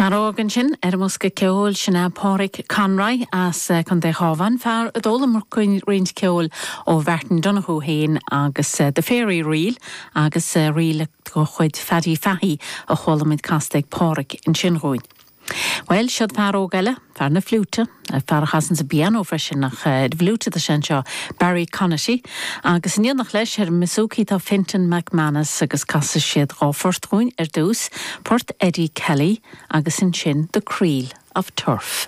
Fear óg ansin ar an mbosca ceoil, sin é Páraic Conroy as Contae an Chabháin, fear a d'fhoghlaim roinnt ceoil ó Mhartin Donohoe féin agus The Fairy Reel agus ríl de chuid Phaddy Fahey a chuala muid casta ag Páraic ansin dhúinn. Bhuel, siod fear óg eile, fear na fliúite, fear a chasanns an bpianó freisin, ach ar an bhfliúit atá sé anseo, Barry Conaty, agus in éineacht leis ar an mbouzouki tá Fintan McManus agus casfaidh siad dhá phort dhúinn ar dtús, port Eddie Kelly agus ansin The Creel of Turf.